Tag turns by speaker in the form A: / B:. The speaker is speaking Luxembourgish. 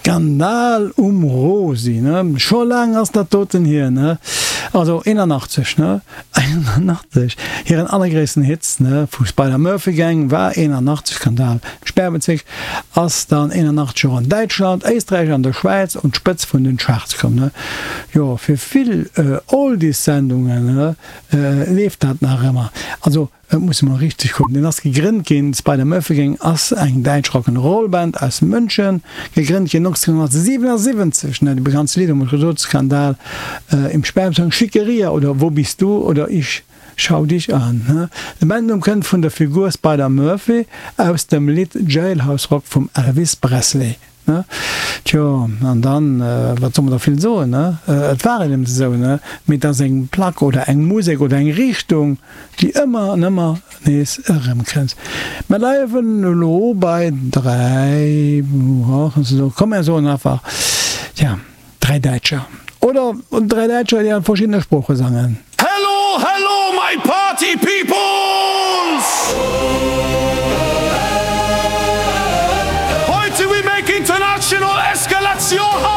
A: Skandal um Rosi, ne? Scho laang ass dat doten hier, ne? Also 81, ne? 81, hiren allergréissten Hits, ne, vu Spider Murphy Gang war 81, Skandal im Sperrbezirk, ass dann 81 och an Däitschland, Éisträich an der Schwäiz un d'Spëtz vun den Charts komm, ne? Jo, fir vill Oldies-Sendungen, ne, leeft dat nach ëmmer. Also. Et muss emol richteg kucken. Deen ass gegrënnt ginn, d'Spider Murphy Gang ass eng däitsch Rock 'n' Roll Band aus München, gegrënnt ginn 1977. Ne, déi bekanntste Lidder, hu mer gesot, Skandal im Sperrbezirk, Schickeria oder Wo bist du oder Ich schau dich an. Ne, de Bandnumm kënnt vun der Figur Spider Murphy aus dem Lidd Jailhouse Rock vum Elvis Presley. Ne? Tjo, an dann, wat soll mer da vill soen, ne? Et war eben esou, ne? Mee et ass eng Plack oder eng Musek oder eng Richtung, déi ëmmer an ëmmer nees erëmkënnt. Mer bleiwen elo bei 3, komm mer soen einfach, tja, 3 Däitscher. Oder 3 Däitscher, déi an verschiddene Sprooche sangen.
B: Hello hello my party peoples! Heute we make international escalation!